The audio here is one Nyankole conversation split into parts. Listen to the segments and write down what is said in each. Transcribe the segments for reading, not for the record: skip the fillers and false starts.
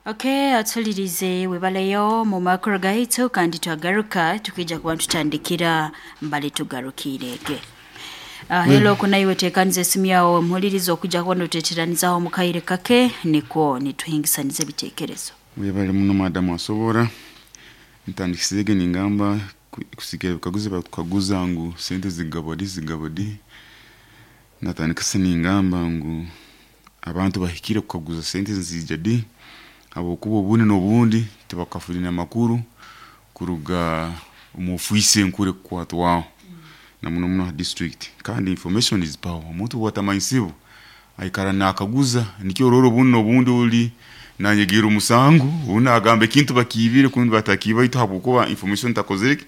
Okay, atulirize webaleyo mu makuru gaitu kandi twagaruka tukija kuba tutandikira mbali tugarukirege. Hello kunaiwe tekanize esimu yawe mpuliriza okujja kuba noteteranizaho mu kaire kake nikwo nituhingisaniza ebitekerezo. Webale muno madamu asobora ntandikisege ningamba kusikira ebikaguzo batukaguza ngu sente zigabwa di zigabwa di. Natandikise ningamba ngu abantu bahikire kukaguza sente nizija di, habwokuba obundi n'obundi tibakafuna amakuru kuruga omu ofiisi enkuru ekukwatwaho na muno muno ha district. Kandi information is power, omuntu obu atamanyisibwa aikara nakaguza, nikyo orora obundi n'obundi ori nanyegerra omusango, obu nagamba ekintu bakiibire kundi batakiiba baitu habwokuba information takozire ki,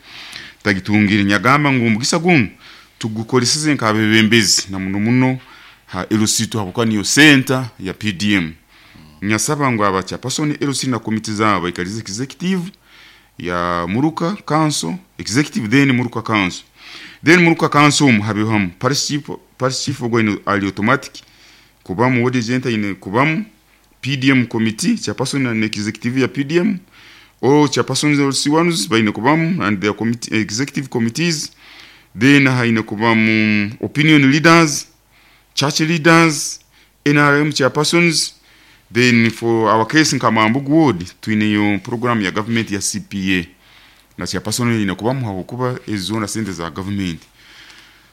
tagitungire. Nyagamba ngu omugisa gunu tugukoleseze nk'abebembezi na muno muno ha LC2 habwokuba niyo center ya PDM. Nyasaba ngu aba chairperson LC na komiti zaabo baikalize executive ya Muruka Council, executive then Muruka Council. Then Muruka Council omu habeho hamu parish chief, parish chief ogwo aine ali automatic kubamu, ward agent aine kubamu, PDM committee, chairperson na executive ya PDM, all chairpersons LC1s baine kubamu and their committee, executive committees. Then haine kubamu opinion leaders, church leaders, NRM chairpersons. Then for our case nka Mambugu ward twineyo program ya government ya CPA na chairperson aine kubamu habwokuba ezo zoona sente za government.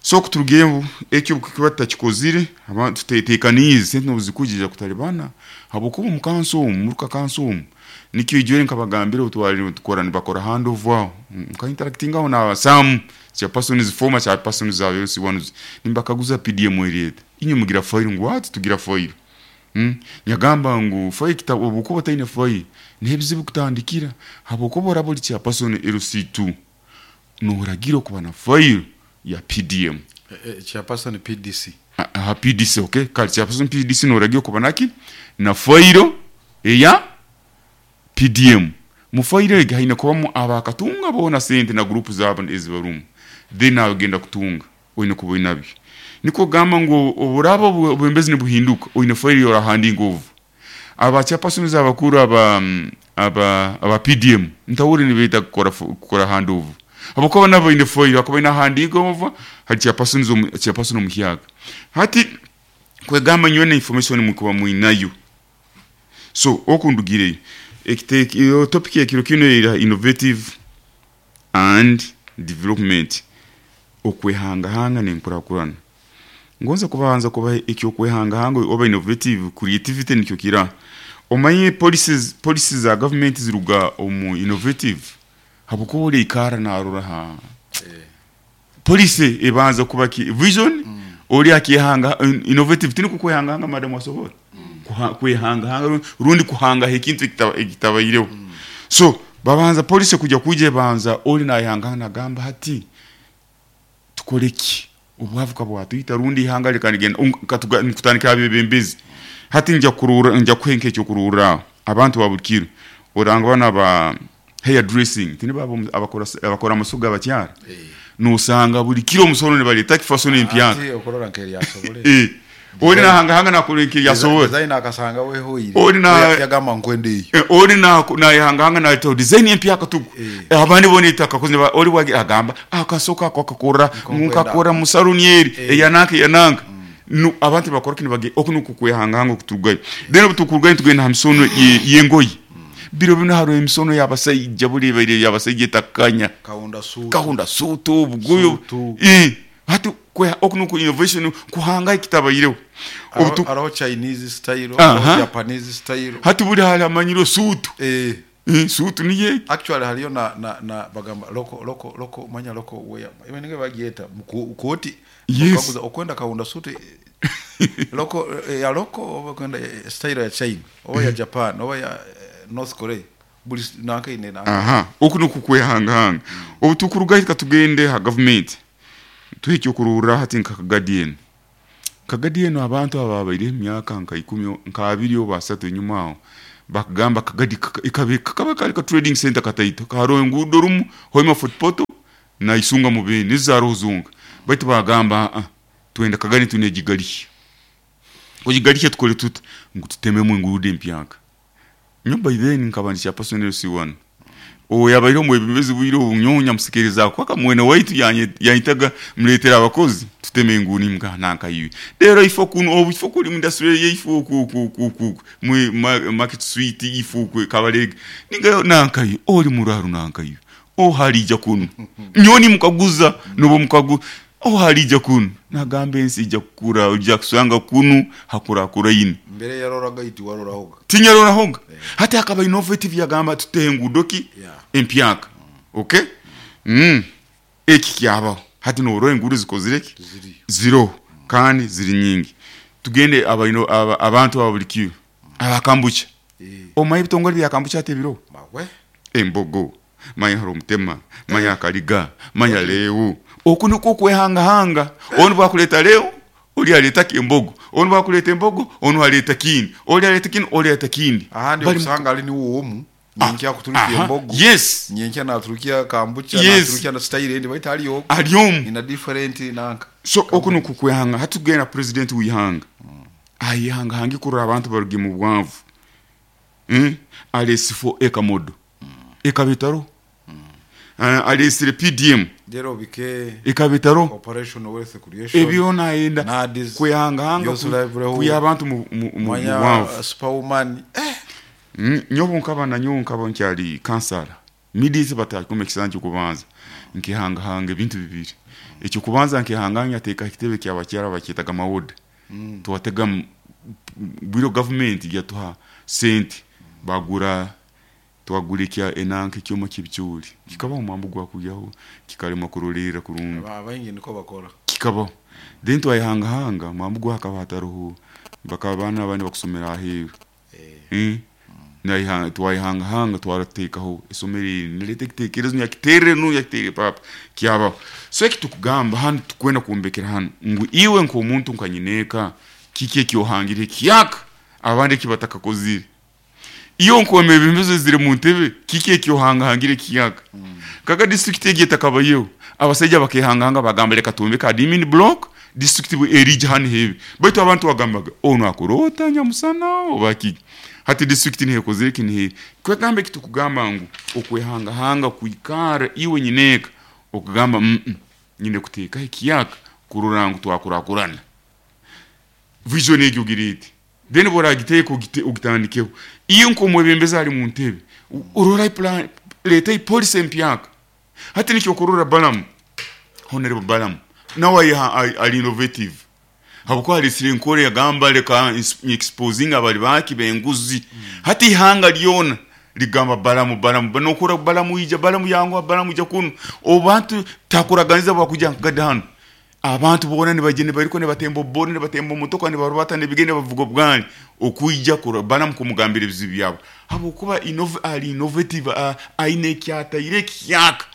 So kuturugeho ekyo kuba tutakikozire, abantu tutetekaniize sente nobuzikujija kutalibana habwokuba omu kanso omu muruka kanso omu nikyo ijwere nkabagambira obutwali tukora nibakora handover aho nka interactingaho na some chairpersons, former chairpersons za LC1s nimbakaguza PDM eryeta inywe mugira file ngu what tugira file. Nyagamba ngu file kitabo obwokuba otaine file n'ebizibu kutandikira habwokuba oraba ori chairperson LC2 noragira okuba na file ya PDM. Chairperson PDC. Aha PDC, okay. Kale chairperson PDC noragira okuba naki na file eya PDM. Mu file egi haine kubamu abakatunga boona sente na group zaabo ezibarumu, then nagenda kutunga oine kuba oinabyo. Nikwo kugamba ngu oburaba obwebembezi nibuhinduka oine file yorahandinga over. Aba chairpersons abakuru aba aba aba PDM ntahurire nibeeta kukora kukora handover habwokuba nabo baine file akaba aine ahandiika over hari chairpersons chairperson omuhyaka. Hati kwegamba nyowe na information mukuba mwinayo. So oku ndugireyo ekite topic ekiro kinu era innovative and development, okwehangahanga n'enkurakurana. Ngonza kubanza kubaha eky'okwehangahanga oba innovative creativity nikyo kira. Omanye policies policies za government ziruga omu innovative habwokuba ori aikara narora ha policy ebanza kuba ki vision ori akehanga innovative tiniko kwehangahanga madam asobora kwehangahanga rundi kuhangaho ekintu ekitabaireho. So babanza policy kujya kwija ebanza ori nayehangahanga nagamba hati tukore ki obwavu kabwatwita rundi ihanga reka nigenda nkutandikira abebembezi. Hati nja kurura nja kuha nk'ekyokurorraho aho abantu ba buli kiro oranga banu aba hair dressing tinibo abakora abakora amaso g'abakyara nosanga buli kiro omusono nibareta kifasono empyaka. Ati okurora nk'eryasobole. Ori nahangahanga nakora nk'eryasobole. Design akasanga wehoire. Ori na yagamba nkwenda eyo. Ori nayehangahanga naleta design empyaka tugu. Abandi bona etakakoze ori wagi agamba akasoka ako akakora nkakora mu salon eri eyananka eyananka. No abantu bakora kini bage oku nuko kwehangahanga okuturugayo. Then obutukurugayo tugenda ha misono y'engoyi. Biro bino hariho emisono y'abasaija buri ebaire y'abasaija etakanya. Kahunda suutu. Kahunda suutu obugoye. Hati oku nuko innovation kuhanga ekitabaireho. Hariho Chinese style, hariho Japanese style. Hati buri hariho amanyiro suutu. Suutu niyo egi. Actually hariyo na na na bagamba loko loko loko manya loko wear. Iwe bagyeta kooti. Yes. Okwenda kahunda suutu loko ya loko oba okwenda style ya China oba ya Japan oba ya North Korea. Buli nanka ine nanka. Aha, oku nuko kwehangahanga. Obu tukurugayo katugende ha government. Tuhe ekyokurorraho hati nka Kagadi enu. Kagadi enu abantu ababaireho emyaka nka ikumi nka abiri oba asatu enyuma aho bakagamba Kagadi kakaba kari ka trading center kataito hariho enguudo rumu Hoima Fort Portal na Isunga Mubende nizo zaroho zonka, baitu bagamba aa twenda Kagadi tunegigariha, kugigarihya tukore tuta ngu tutememu enguudo empyaka. Nyowe by then nkaba ndi chairperson LC1. Owo yabaire omwebembezi bwire obu nyowe nyamusekereza kwaka mwene waitu yanyetaga muletere abakozi tuteme enguudo nimugaha nanka iwe. Rero ifo kunu obu ifo kuri mu industry area ifo oku oku oku oku oku mwe market street ifo oku Kabalega ningayo nanka iwe ori muraru nanka iwe oha arija kunu nyowe nimukaguza nobu omukagu oha arija kunu nagamba ensi eija kukura oija kusanga kunu hakurakuraine. Mbere yaroraga iti warorahoga. Tinyarorahoga. Hati akaba innovative yagamba tuteho enguudo ki? Empyaka. Okay? Eki kyabaho. Hati norora enguudo zikozire ki? Ziroho kandi ziri nyingi. Tugende abantu aba buri kiro aba kambucha. Omanya ebitongore bya kambucha hati ebiroho? Embogo, manya hariho omutema, manya akariga, manya leo. Oku nikwo okwehangahanga. Onu bwakureeta leo, ori areeta ki? Embogo. Onu bwakureeta embogo, onu areeta kindi. Ori areeta kinu, ori areeta kindi. Ahandi Bari mu okusanga ari niwe omu, nyenkya akuturukia Aha, embogo, yes. nyenkya naturukia kambucha, Yes. naturukia na style endi baitu ari omu. Ari omu. In a different nanka. So oku nikwo kwehanga. Hati tugenda president w'eihanga. Ayehangahange kurora abantu baruge mu bwavu. Areesifo ekamodo ekaba etaroho. Areesire PDM Reero obike ekaba etaroho. Operation Wealth Creation, Ebyo nayenda NAADS, kwehangahanga Youth Livelihood, kwiha abantu mu manya bwavu. Superwoman. Eh! Nyowe nkaba na nyowe nkaba nkyari kansara immediately batakuma ekisanja ky'okubanza nkehangahanga ebintu bibiri. Eky'okubanza nkehangahanga nyateekaho ekitebe ky'abakyara bakyetaga mawoda. Twatega bwire gavumenti yatuha sente bagura twagura ekya enanka ekyoma ky'ebicoori kikabaho omwambu gwakugyaho kikaremwa kurolerra kurungi. Abaingi nikwo bakora. Kikabaho then twayehangahanga omwambu gwo hakaba hataroho bakaba abaana abandi bakusomera aheeru. Twayehangahanga twarateekaho esomero eri nireeta ekiteekerezo nyakiterre nu yakiterre paapa kyabaho. So eki tukugamba hanu tukwenda kwombekera hanu ngu iwe nk'omuntu nka nyineeka kiki eki ohangire ekiyaka abandi eki batakakozire. Iwe nk'omwebembezi ozire mu ntebe kiki eki ohangahangire ekiyaka. Nkaga disiturikiti egi etakabayeho abasaija bakehangahanga bagamba leka twombeke admin block disiturikiti bwe erija hanu hebe. Baitu abantu bagambaga onu akora ota nyamusana oba kiki. Hati disiturikiti niho ekozire ki niho eri. Kwegamba eki tukugamba ngu okwehangahanga kwikara iwe nyineeka okugamba nyine kuteekaho ekiyaka kurora ngu twakurakurana. Vision egyo ogireete. Then obu oragiteeka ogitandikeho. Iwe nk'omwebembezi ari mu ntebe orora plan reeta policy empyaka. Hati nikyo okurora Balamu, Honorable Balamu nawe ari innovative. Habwokuba areetsire enkora yagamba leka exposinge abari baki b'enguzi. Hati eihanga ryona rigamba Balamu, Balamu, nokora Balamu ija, Balamu yanguha, Balamu ija kunu. Obu bantu takuraganiza bwakuija nkagadi hanu. Abantu boona nibaija nibairuka nibatemba obuboda, nibatemba omotoka, nibarubata n'ebigere nibavuga obugaari okwija kurora Balamu kumugambira ebizibu byabo. Habwokuba ari innovative, aine eki ataire ekihyaka.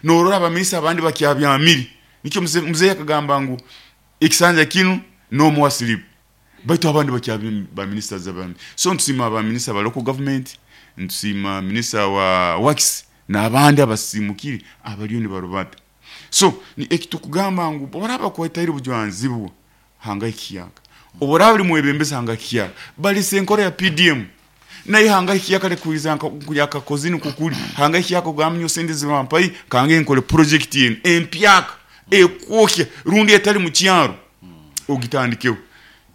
Norora abaminisita abandi bakyabyamire. Nikyo muzeeyi akagamba ngu ekisanja kinu no more sleep. Baitu abandi bakyabyamire ba ministers abandi. So nitusiima ba minisita ba local government, nitusiima minisita wa works n'abandi abasiimukire abariyo nibarubata. So eki tukugamba ngu obu oraba bakwetaire obujwanzibwa hanga ekiyaka. Obu oraba ori mwebembezi hanga ekiyaka. Barisa enkora ya PDM. Nayo hanga ekiyaka rekuhuriza nka yakakoze nikwo kuri. Hanga ekiyaka ogambe nyowe sente ezi bampaire kange nkore project enu empyaka ekwokya rundi etari mu kyaro ogitandikeho.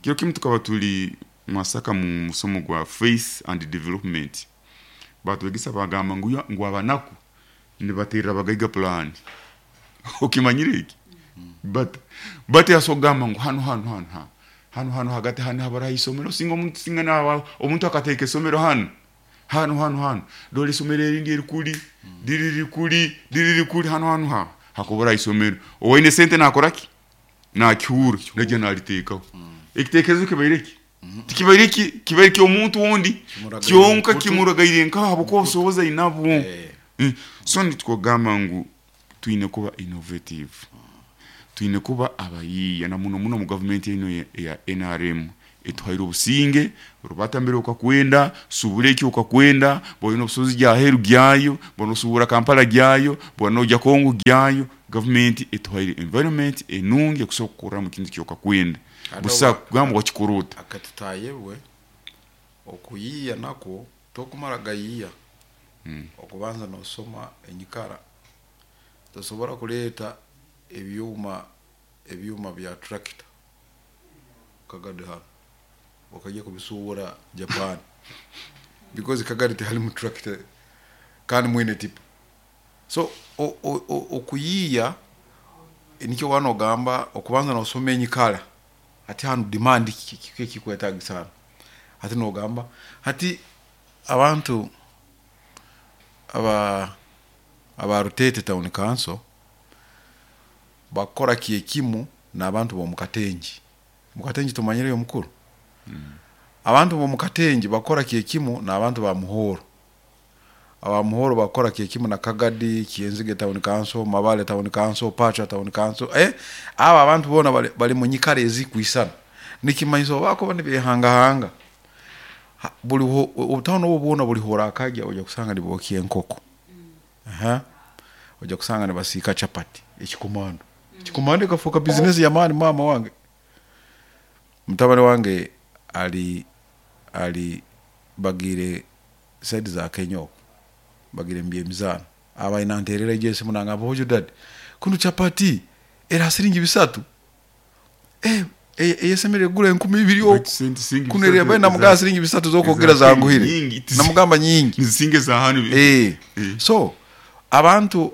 Kiro kimu tukaba turi Masaka mu musomo gwa faith and development. Batwegesa bagamba ngu ngu abanaku nibaterera abagaiga pulaani. Okimanyire eki? Bata bata yasobola kugamba ngu hanu hanu hanu hanu hanu hanu hagati hanu habaraho isomero singa omuntu singa naba omuntu akateeka isomero hanu hanu hanu hanu dora isomero erindi erikuri riri rikuri riri rikuri hanu hanu ha hakuburaho isomero owaine sente nakora ki nakihura naija nariteekaho. Ekitekerezo kibaire ki? Tikibaire ki? Kibaire ky'omuntu ondi Kimuragaire kyonka nkutu. Kimuragaire nkaho habwokuba obusobozi ainabwo. So nitwogamba ngu twine kuba innovative. Twine kuba abayiiya na muno muno omu gavumenti enu eya NRM etuhaire obusinge, rubata mbere okakwenda, subura eki okakwenda, bw'oine obusobozi gya aheeru gyayo, bw'oba nosubura Kampala gyayo, bw'oba noija Congo gyayo, gavumenti etuhaire environment enungi ekusobola kukorramu ekintu eki okakwenda. Kandi Busa obu kugamba wakikora ota. Akatutayebwe okuyiiya nakwo. Tokumara gayiiya okubanza nosoma enyikara. Tosobora kureeta ebyoma ebyoma bya tractor Kagadi hanu okajya kubisuubura Japan because Kagadi tiharimu tractor kandi mwine tipa. So okuyiiya nikyo waaba nogamba okubanza nosoma enyikara hati hanu demand kiki ekikwetagisa hanu hati nogamba hati abantu aba aba Ruteete town council bakukora kyekimu n'abantu b'omu Katengi. Omu Katengi tomanyireyo mukuru? Abantu b'omu Katengi bakukora kyekimu n'abantu ba Muhoro. Aba Muhoro bakukora kyekimu na Kagadi, Kyenzige town council, Mabale town council, Pacha town council, eh abo abantu boona bari bari mu nyikara ezikwisana. Nikimanyisa obu bakuba nibehangahanga, buri obutawuni obwo bwona buri horakagya oija kusanga nibokya enkoko. Aha, oija kusanga nibasiika chapati, ekikomando. Ekikomando ekafuuka bizinesi y'amaani maama wange. Mutabani wange ari ari bagiire side za Kenya okwo, bagiire omu by'emizaano. Abaire nanteerera egyo esimu nangamba hojo dadi, kunu chapati eri aha siringi bisatu, eh eyesemereire kugura 2000 okwo, Baitu sente siringi kunu eri bisatu mbaire namugamba eza siringi bisatu z'okwogera eza Kenya zanguhire, nyingi tizi namugamba nyingi. nizisinga eza hanu. Eh, Eh. so abantu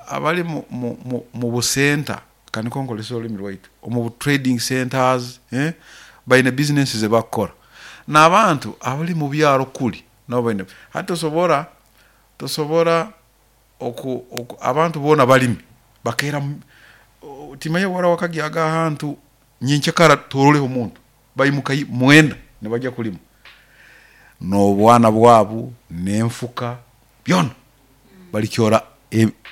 abari mu busenta, ka nikwo nkorese orurimi rwaitu, omu bu trading centres, baine bizinesi ezi barikukora. N'abantu abari mu byaro kuri nabo baine, hati tosobora tosobora oku oku abantu boona barimi bakeera timanya waaba wakagyaga ahantu nyenkyakara tororeho muntu, baimuka mwenda nibagya kurima n'obwana bwabo n'enfuka byona barikyora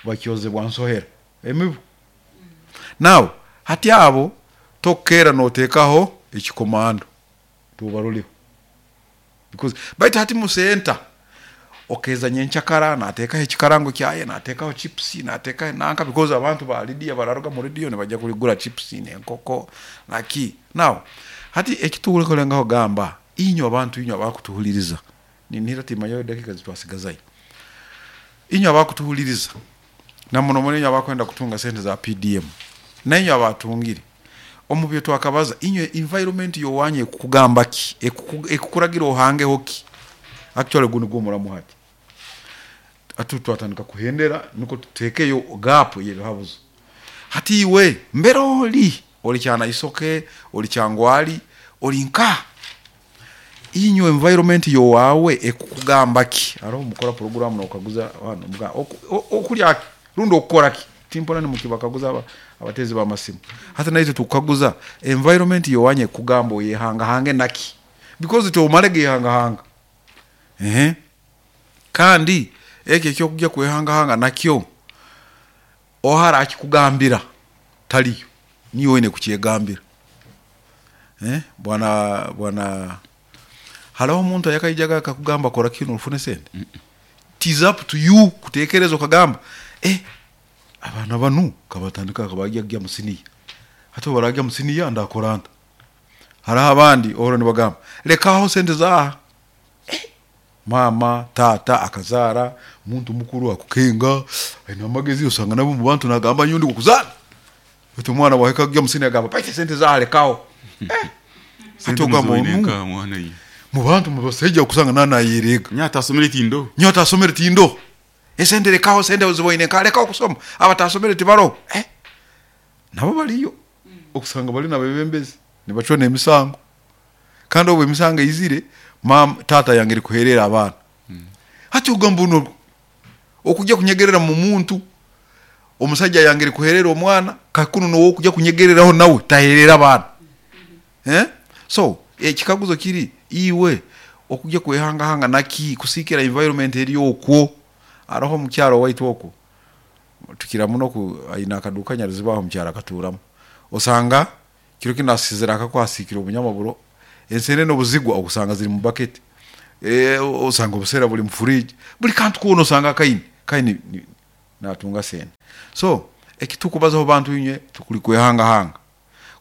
bakyozebwa nsohera emibu. Now hati abo tokukeera noteekaho ekikomando tobaroreho because baitu hati mu center okeeza nyenkyakara nateekaho ekikarango kyaye nateekaho chips nateekaho nanka because abantu ba Lydia bararuga mu radio nibajya kugura chips n'enkoko naki. Now hati eki turikurengaho kugamba inywe abantu inywe abakutuhuririza Ninihira timanyayo edakiika ezi twasigazayo. Inywe abakutuhuririza, na muno muno inywe abakwenda kutunga sente za PDM, nainywe abatungire, omu byo twakabaza, inywe environment y'owanyu ekukugamba ki? Ekukuragira ohangeho ki? Actually ogu nigwo omuramu hati. Hati twatandika kuhendera nukwo tuteekeyo gap ey'ebihabuzo. Hati iwe mbere ori, ori Kyanaisoke, ori Kyangwali, ori nkaha? Inywe environment y'owaawe ekukugamba ki? Haroho mukora puroguraamu n'okaguza hanu omugamba okulya ki rundi okukora ki? Timpurra nimukibakaguza abateezi b'amasimu. Hati naitwe tukukaguza environment y'owanyu ekukugamba oyehangahange naki? Because tomare gehangahanga. Eeh kandi eki eky'okugya kwehangahanga nakyo oha arakikugambira tariyo, niiwe oine kukyegambira. Bwana bwana hariho omuntu ayakaijaga akakugamba kora kinu ofune sente? It is up to you kutekereza okagamba eh abaana banu kabatandika kabarya mu siniya, hati obu bararya mu siniya ndakora nta? Hariho abandi ohurra nibagamba lekaho sente zaaha. Maama, taata akazaara, omuntu mukuru akukenga, aine amagezi osanga nawe omu bantu nagamba nyowe ndi kukuzaara. Baitu omwana bwahika kugya omu siniya agamba baitu esente zaaha lekaho. Eh! Hati Sente ogamba muziboine onu nkaha mwana iwe? mu bantu mu basaija okusanga naaba nayereega. Nyowe atasomere tindoho. Nyowe atasomere tindoho. Esente lekaho, esente oziboine nkaha lekaho kusoma. Abatasomere tibaroho. Eh! Nabo bariyo. Okusanga bari n'abebembezi nibacwa n'emisango. Kandi obu emisango eizire, maama taata ayangire kuheerera abaana. Hati ogamba onu okujya kunyegerera mu muntu, omusaija ayangire kuheerera omwana, kakunu n'owokujya kunyegereraho nawe taheerera abaana. Eh? So, ekikaguzo kiri, iwe okujya kwehangahanga naki kusiikira environment eri okwo? Haroho omukyara owaitu okwo, tukira muno ku aine akaduuka Nyaruziba aho omukyaro akatuuramu. Osanga Kiro kinu asizire akako asiikire obunyamaburo, ensenene obuzigwa okusanga ziri mu baketi, osanga obusera buri mu fridge, buri kantu koona osanga akaine kandi natunga sente. So eki tukubazaho bantu inywe tukuri kwehangahanga,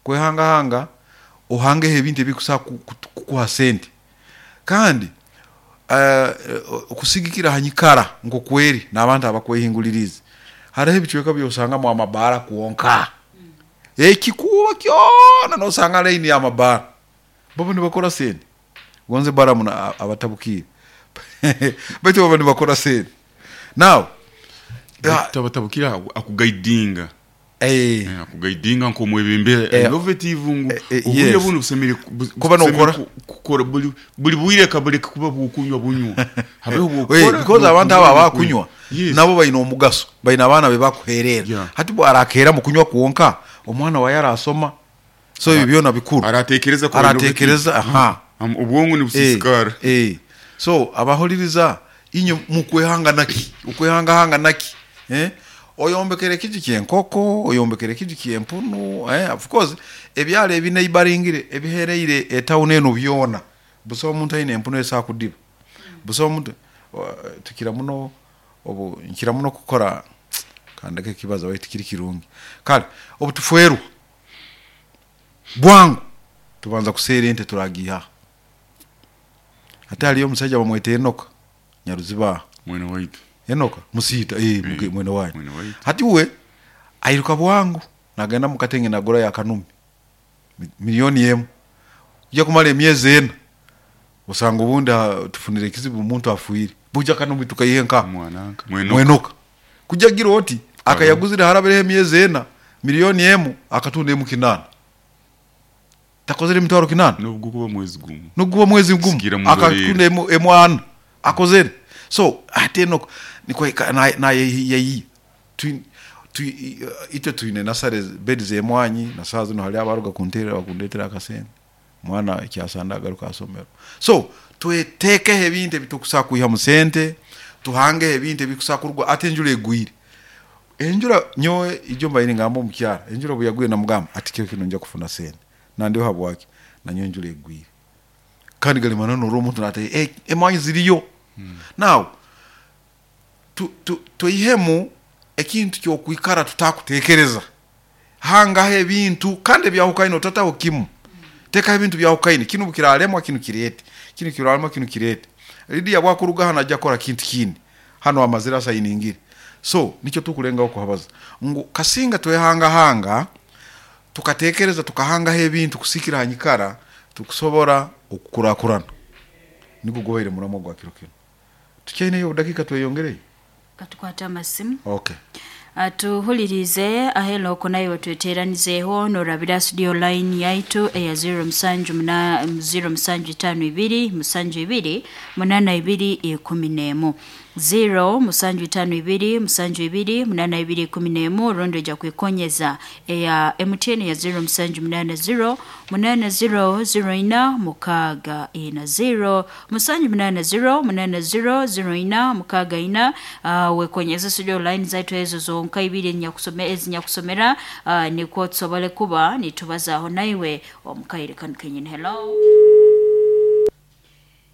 kwehangahanga ohangeho ebintu ebikusobola kukuha sente kandi. Okusigikira ha nyikara nk'oku eri n'abantu abakwehinguliriize, haroho ebicweka by'osangamu amabaara kwonka. Ekikuubo kyona n'osanga laini y'amabaara. Baba nibakora sente. Gonze Balamu abatabukiire baitu baba nibakora sente. Now, Baitu tabatabukire akugaidinga. Akugaidinga nk'omwebembezi innovative ngu obwire bunu busemeriire Kuba nokora. kukora buli bwire kabuleke kuba bw'okunywa bunywa habeho obw'okukora Because abantu abo abakunywa Yes. nabo baine omugaso, baine abaana be bakuherera. Yeah. Hati bwo arakeera mu kunywa kwonka, omwana waye arasoma? So ebyo byona bikuru. Aratekereza kuba innovative. Aratekereza, aha. Obwongo nibusiisikara. So abahuliriza inywe mukwehanga naki? Okwehangahanga naki? Oyombekere ekiju ky'enkoko, oyombekere ekiju ky'empunu, of course ebyaro ebineibaringire ebihereire etawuni enu byona busaho muntu aine empunu esobola kudiba. Busaho muntu, tukira muno obu nkira muno kukora kandeke kibazo baitu tikiri kirungi. Kale obu tufwerwa bwangu tubanza kuseera ente turagiiha ha. Hati hariyo omusaija bamweta Enoka Nyaruziba aha. Mwene waitu. Enoka Musiita, eeh mwene wanyu. Mwene waitu. Hati uwe airuka bwangu nagenda omu katenge nagurayo akanumi milioni emu. Kuija kumara emyezi ena osanga obundi tufunire ekizibu omuntu afwire. Buija akanumi tukaiha nkaha? Mwananka. Mwenoka. Mwenoka. Kuija gira oti akayaguzire harabireho emyezi ena milioni emu akatunda emu kinaana. Takozere emitwaro kinaana? N'obu gukuba mwezi gumu. N'obu gukuba mwezi gumu Sigira muroreere. akatunda emu emu ana. Akozere. So hati Enoka nikwo nayeyiya. Itwe twine nasare bedi z'emwanyi na saaha zinu hariho abaruga kunteerera bakundetera akasente. Omwana ekyasanda agaruke aha isomero. So tweteekeho ebintu ebi turikusobola kwihamu sente, tuhangeho ebintu ebirikusobola kuruga hati enjura egwire. Enjura nyowe ijo mbaire ningamba omu kyaro, enjura obu yagwire namugamba ati kiro kinu ninja kufuna sente. Nandiho habwaki? Nanyowe enjura egwire. Kandi gari mananu norora omuntu nateeka emwanyi ziriyo. Now tweihemu ekintu ky'okwikara tutakutekereza. Hangaho ebintu kandi ebyahukaine otataho kimu. Tekaho ebintu byahukaine, kinu obu kiraremwa kinu kireete, kinu kiraremwa kinu kireete. Lydia obu akuruga hanu aija kukora kintu kindi, hanu amazire asayiningire. So nikyo tukulengaho kuhabaza ngu kasinga twehangahanga tukatekereza tukahangaho ebintu kusikira ha nyikara tukusobora okukurakurana. Nigwo gubaire muramwa gwa kiro kinu. Tukyaineyo obudakiika tweyongereyo? Katukwate amasimu. Okay. Tuhuliriize ahelo okwo naiwe tweteranizeeho norabira studio line yaitu eya ziro musanju muna ziro musanju itaano ibiri musanju ibiri munana ibiri ikumi n'emu ziro musanju itaano ibiri musanju ibiri munana ibiri ikumi n'emu rundi oija kwikonyeza eya MTN ya ziro musanju munana ziro munana ziro ziro ina mukaaga ina ziro musanju munana ziro munana ziro ziro ina mukaaga ina. Wekonyeze studio line zaitu ezo zonka ibiri ezinyakusomera nikwo tusobole kuba nitubazaho naiwe omukaire kanu kenyini. Hello.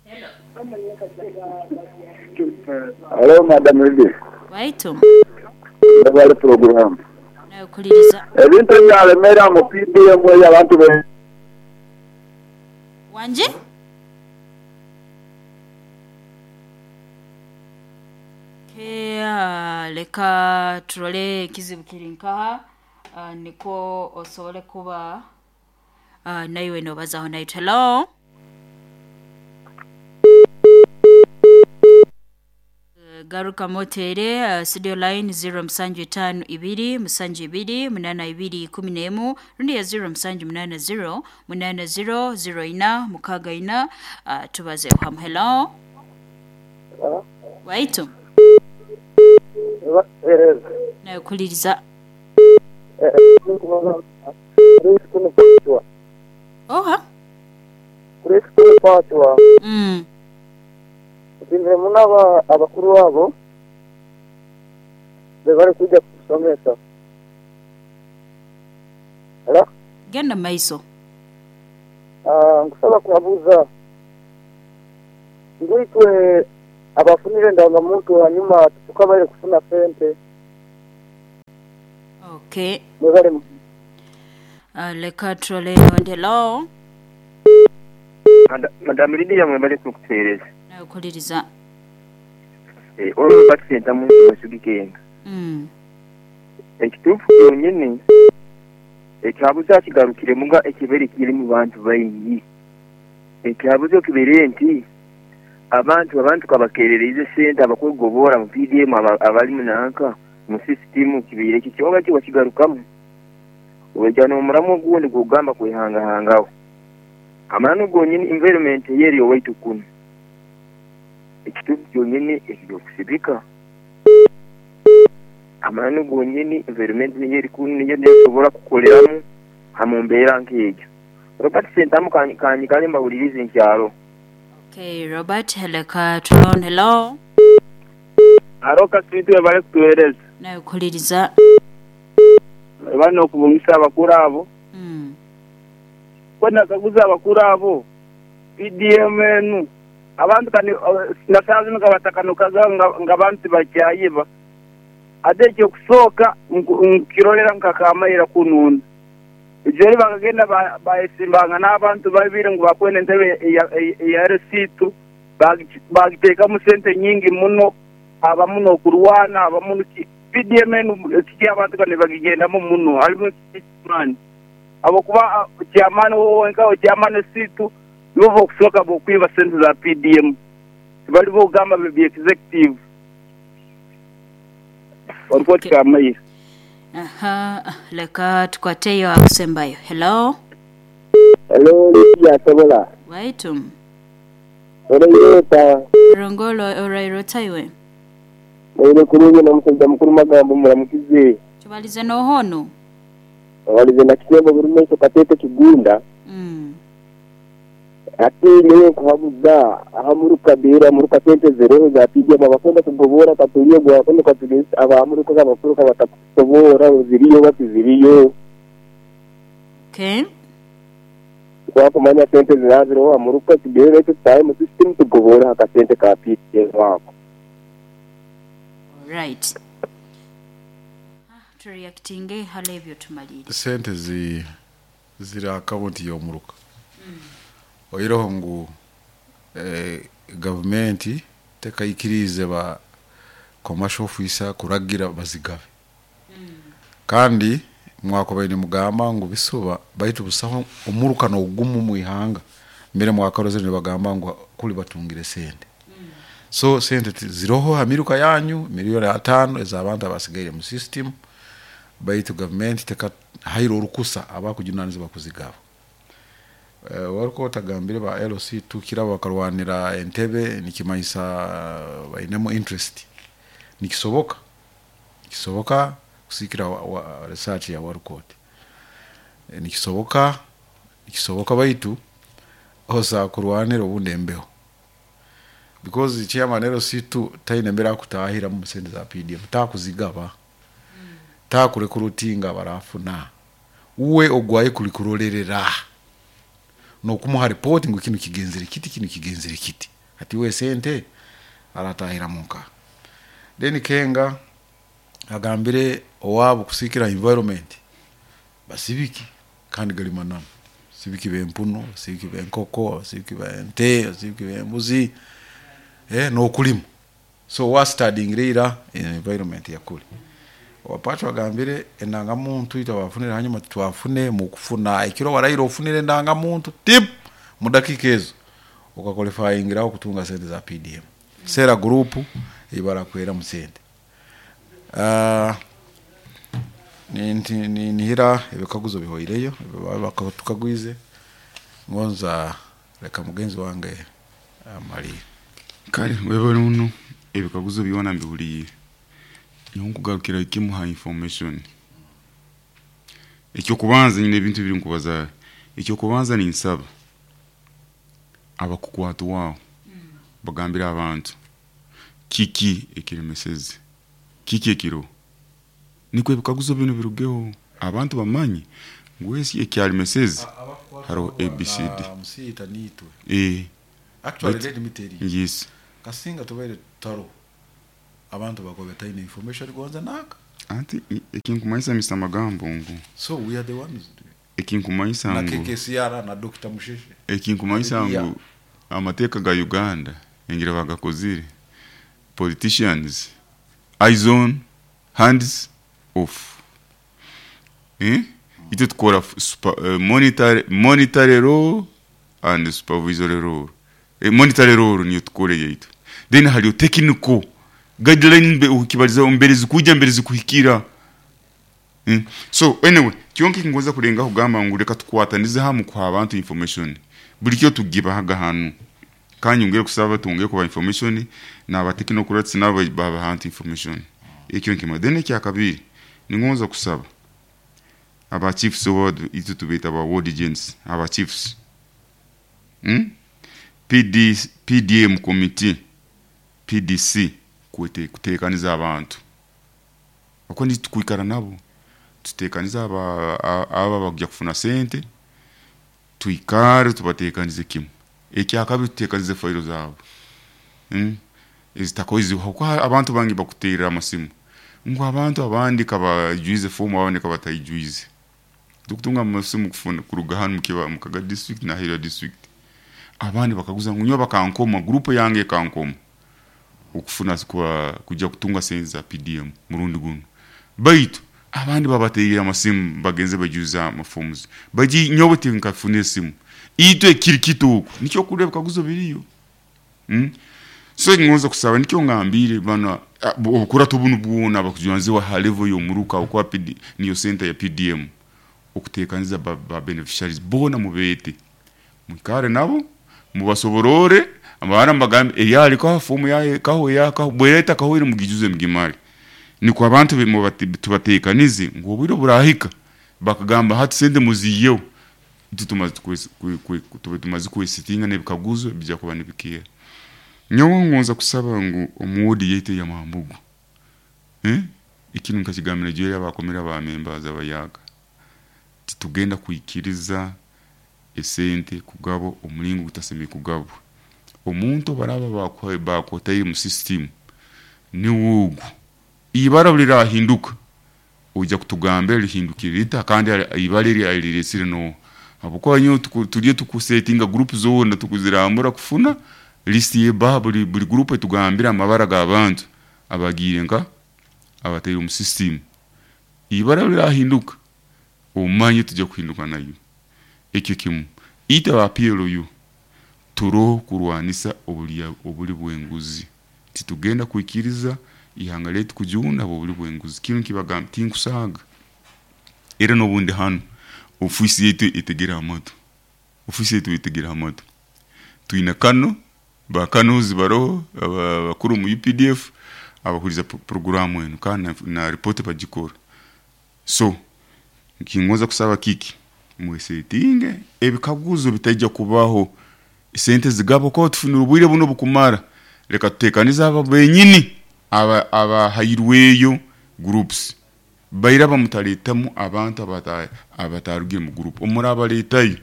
Hello. Hello, Madam Lydia. Waitu. Ndabale program. Nawe kuliriza. Ebintu ebyalemera mu PDM eyo abantu be Wanje? Okay, leka turole ekizibu kiri nkaha nikwo osobole kuba naiwe nobazaho naitu. Hello. Garuka motere studio line ziro musanju itaano ibiri musanju ibiri munana ibiri ikumi n'emu rundi ya ziro musanju munana ziro munana ziro ziro ina mukaaga ina tubazeho hamu. Hello. Waitu. Nawe kuliriza. Oha. Munaba abakuru abo bebari kuja kusomesa. Hello? Genda maiso. Nkusaba kubabuza ngwitwe abafunire ndangamuntu hanyuma tukabaire kufuna sente. Okay. Mwebale. Leka trole hello. Madam Lydia mwebale kukuteereza. Nawe kuhuliriza. Ono Robert Ssentamu Mwesigi Kenga. Ekituufu kyonyini ekyabuzo akigarukiremu nga ekibaire kiri mu bantu baingi. Ekyabuzo kibaire nti abantu abantu kabakerereize sente abakwegobora mu PDM abali mu nanka mu sisitimu kibaire kiki oba ki wakigarukamu. Oija n'omuramu ogundi gw'okugamba kwehangahangaho. Amananu gonyini environment eyeri owaitu kunu. Ekituufu kyonyini eky'okusibika. Amananu gonyini environment niyo eri kunu niyo nesobora kukoleramu ha mbeera nk'egyo. Robert Ssentamu kanyikale mbahulirize nkyaro. Okay, Robert, leka tulonde. Hello. Haro Kaswitu webale kutuhereza. Nawe kuhuliriza. Webale n'okubungisa abakuru abo. Kwenda nakaguza abakuru abo PDM enu abantu kani na zinu kabatakanukaga nga abantu tibakyayiba. Ate ekyokusooka nkirolera nkakamaira kununda. Ejeri bakagenda bayesimbanga n'abantu babiri ngu bakwenda entebe eya RC2 bagiteekamu sente nyingi muno, abamu n'okurwana, abamu PDM enu kiki abantu kani bagigendamu muno, harimu ekimani. Habwokuba chairman wowe chairman situ nibo bokusooka bokwiba sente za PDM. Tibali bogamba bya executive. Walikuwa kamaira. Aha, leka tukwateyo akusembayo. Hello. Hello, Lydia Sobola. Waitu. Orairota. Rongolo orairota iwe. Mwire kurungi na musajja mukuru magambo muramukize. Tubalize nohono. Walize na kisembo buri maiso katete kigunda. Ate niwe nkuhabuza ahamuruka bera muruka sente zeroho za PDM abakwenda kugobora katuliye gwakwenda katugeza abamuruka abakuruka batakusobora ziriyo batiziriyo. Okay. Twakumanya sente ziraziroho amuruka tugere tutaye mu system tugobora akasente ka PDM wako. Right. Tureactinge halebyo tumalire. Sente ziri akaunti y'omuruka. Oiroho ngu gavumenti tekaikirize ba commercial officer kuragira bazigabe. Kandi mwakobaine mugamba ngu bisuba baitu busaho omuruka n'ogumu mu ihanga. Mbere mwakarozere nibagamba ngu kuli batungire sente. So sente ziroho amiruka yanyu milioni 5 ez'abantu abasigaire mu system baitu gavumenti teka hairo orukusa abakujunanizibwa kuzigaba. Waruko otagambire ba LC tukira bakarwanira entebe nikimanyisa bainemu interest. Nikisoboka. Nikisoboka kusikira research ya Warukot. Nikisoboka nikisoboka baitu osa kurwanira obundi embeho. Because chairman LC2 taine mbera kutahira mu sente za PDM takuzigaba. Takurekrutinga barafuna. Uwe ogwaye kulikurolerera. Nokumuha report ngu kino kigenzere kiti kino kigenzere kiti. Ati we sente aratahira muka. Then Kenga agambire owabo kusikira environment basibiki kandi gali manano. Basibiki bempuno, basibiki benkoko, basibiki bente, basibiki bembuzi nokulima. So wa studying reira environment yakuli. Wapacho agambire enanga muntu ita wafunire hanyuma twafune mukufuna ekiro warairo ofunire endanga muntu tip mu dakika ezo okaqualifyingira okutunga sente za PDM. Sera group ibara kwera mu sente. Nihira ebikaguzo bihoireyo baktukagwize ngonza reka mugenzi wange amali. Kale wewe runo ebikaguzo byona mbihuriye. Nkugarukira ikimuha information. Ekyo kubanza nyine ebintu biri nkubaza. Ekyo kubanza ni nsaba abakukwata wao bagambira abantu kiki ekiremeseze kiki ekiro niko ebikaguzo bino birugeho abantu bamanyi ngwesi ekyalimeseze haro ABCD musiyita nitwe. Actually But let me tell you. Yes. Kasinga tubaire taro abantu bakobe taine information gonza naka. Anti ekinkumanyisa Mr. Magambo ngu. So we are the ones. Ekinkumanyisa Na ngu KKCR na Dr. Musheshe. Ekinkumanyisa ngu amateeka ga Uganda Engira bagakozire. Politicians, eyes on, hands off. Eh? Itwe tukora monetary role and supervisory role. Monetary role niyo tukora yaitu. Then hariyo technical guideline ukibaliza mbere zikuja mbere zikuhikira. So anyway, kyonka kingoza kurenga kugamba ngu reka tukwatanize hamwe kuha abantu information. Buri kyo tugibahaga hanu. Kandi ngere kusaba tungere kuba information na technocrats nabo baba hantu information. Ekyo nkima. Then ekya kabiri ningonza kusaba aba chiefs ward itu tubeta aba ward agents aba chiefs. PDM committee PDC kutekaniza abantu. Uko ndi tukwikara nabo tutekaniza aba bagya kufuna sente tuikare tubatekanize kimwe. Ekya kabiri tutekanize failo zabo. Ezitakozi kuko abantu bangi bakutera amasimu ngo abantu abandi kabajuize form abandi kabatayijuize. Tukutunga amasimu kufuna kuruga hano mukiba mukaga district na Hira district. Abandi bakaguza ngo nyo bakankoma group yange kankoma ukufuna kwa kujya kutunga sente za PDM murundi guno. Baitu abandi babatera amasimu bagenze bajuza amaforms. Baji nyobote nkafune simu. Itwe kirikito nicyo kureba kaguzo biriyo. So ngonza kusaba nicyo ngambire bana obukura tubunu bwona bakujanze wa level yo muruka okwa PD niyo center ya PDM okutekaniza ba beneficiaries bona mubete mukare nabo mubasoborore abana mbagambe eyali kwa fomu yaye kaho yaka bwereta kaho iri mugijuze mugimali niko abantu tubatekanize ngo bwiro burahika bakagamba hati sende muziyeho tumaze kwesitinga nebikaguzo bijya kuba nibikira. Nyowe ngonza kusaba ngu omuwodi yete ya mambugu. Ikintu nkakigamira je yabakomera ba members abayaga. Titugenda kuikiriza esente kugabo omulingo gutasemeye kugabo. Omuntu baraba bakoteye mu system ni wugu. Ibara lirahinduka. Ujya kutugambira rihindukira kandi ibara riresire no. Abuko nyo tuliye tukusetinga group zona tukuzirambura kufuna list ye ba buri group tugambira amabara g'abantu abagire nka abateye mu system. Ibara lirahinduka umanye tujya kuhinduka nayo. Ekyo kimu ita ba PLU turo kurwanisa obuli bwenguzi. Titugenda kuikiriza ihanga letu kujunda obuli bwenguzi. Kintu kibagamba tinkusaga era nobundi hano ofisi yetu itegera amato. Ofisi yetu itegera amato. Tuina kano bakanozi baroho abakuru mu UPDF abahuriza programu eno kana na report bagikora. So nkingoza kusaba kiki mwesetinge ebikaguzo bitajya kubaho sente zigabo ko tufunira ubwire buno bukumara. Reka tutekaniza aba benyini aba hayirweyo groups bayira bamutaletamu abantu abatarugiye mu group omuraba letayo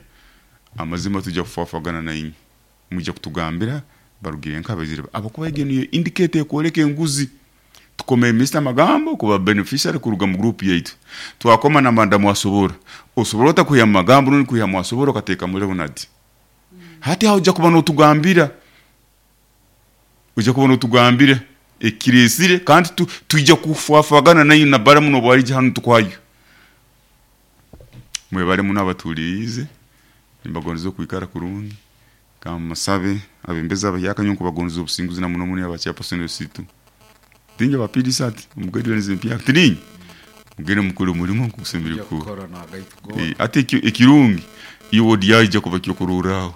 amazima tujya kufafagana na inyi mujya kutugambira barugire nkabazire abakuba yegeniye indicate koleke nguzi tukomeye Mr Magambo kuba beneficiary kuruga mu group yaitu twakoma na madamu wasobora osobora otakuya magambo nuni kuya mwasobora kateka muri Leonard. Hati hauja kuba no tugambira ujya kubona tugambira ekiresire kandi tujya kufafagana nayo na baramu no bwari hano tukwayo mwe bari mu nabaturize nimbagonzo kwikara kurungi kamasabe abembeza abayaka nyonko bagonzo obusinguzi na muno muni abacha personal situ tinje bapidisat mugedwe nze mpya tirinyi mugere mukuru mulimo kusembera ku ate ekirungi iyo wodi yaje kuba kyo kururaho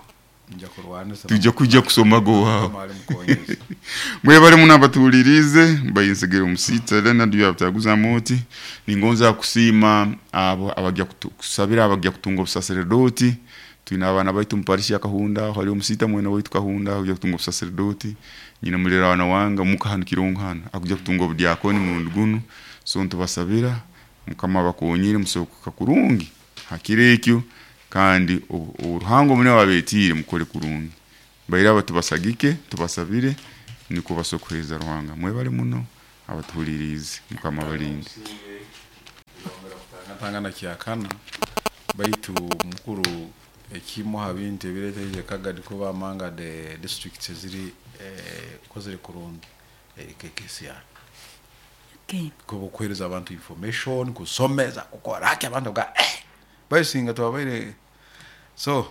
tujya kujya kusoma go wawo mwe bari munabatulirize mbayinsigire umusita Leonard yabtaguza moti ningonza kusima abo abajya kusabira abajya kutunga obusaserdoti. Twina abana baitu mparishi ya Kahunda hari umusita mwene waitu Kahunda akujya kutunga obusaserdoti nyina mulera wana wanga mukahanu kironkana akujya kutunga obudiakoni mu ndugunu. So ntubasabira mukama bakonyire musoka kurungi hakirekyo kandi uruhango mune wabetire mukore kurungi bayira batubasagike tubasabire niko basokweza ruhanga mwe bari muno abatuhuririze mukama barinde tangana kyakana baitu mukuru Ekimu ha bintu ebireeteire Kagadi kuba among the districts eziri ekozire kurungi eri KKCR. Okay. Kuba okuheereza abantu information, kusomeza, kukora ki abantu baga eh bayisinga twabaire so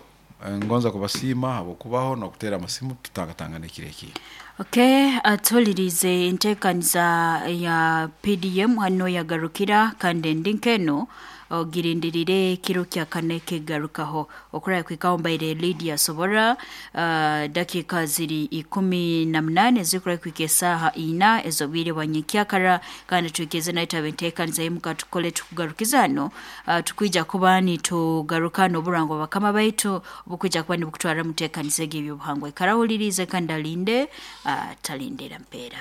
ngonza kubasiima habw'okubaho n'okuteera amasimu tutangatangana ekiro ekindi. Okay, atuhulirize enteekaniza ya PDM hanu yagarukira kandi endi nk'eno ogirindirire ekiro kya kana ekigarukaho okuraya kwikaho mbaire Lydia Sobora dakika ziri 18 ezikuraya kwika esaaha ina ez'obwire bwa nyenkyakara kandi twikirize naitwe abenteekaniza y'omuka tukole tukugarukiza hano tukwija kuba nitugaruka n'oburango bakama baitu obukwija kuba nibukutwara muteekaniza egi eby'obuhangwa ikara ahulirize kandi alinde atalindira mpeera.